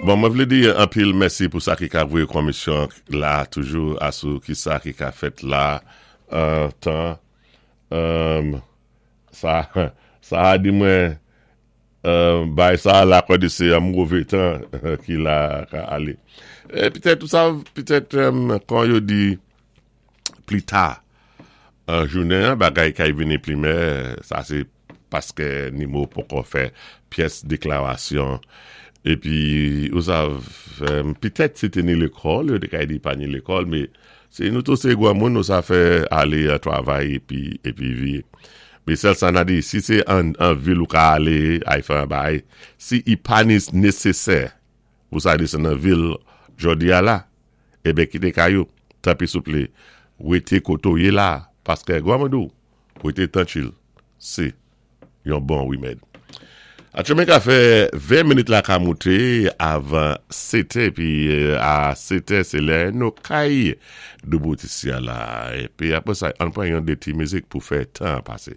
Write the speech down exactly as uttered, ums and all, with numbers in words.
Bon, mwen vlé di anpil mèsi pou sa ki ka voyé komisyon la toujou asou ki sa ki ka fèt la uh, tan. Um, sa, sa a di mwen uh, bay sa la kwa di sé an mové tan ki la ka alé. É pitèt tout sa, pitèt um, kon yo di pli ta an jounen, bagay kay vini pli mè, sa sé paské Nimo poko fè pyès déklarasyon. Épi, ou sav, um, pitèt sé té ni lékòl, yo té kay di pa ni lékòl, mé sé nou tou sé gwanmoun, nou sa fè alé a travay épi, épi vi. Mé sèl sa na di, si sé an, an vil ou ka alé, ay fè an bay, si i pa ni nésésè, ou sa di sé nan vil jòdi a la, ében kité kay ou, tanpwi souplé, wété koté ou yé la, paské gwanmoun dou, wété tranchil, sé yon bon wimèd. Atchoumen ka fè ven minit la ka mouté avan sètè, pi a setè sé lè nou kay doubout isi a la. Épi apwé sa, an pwan yon dé ti mizik pou fè tan pasé.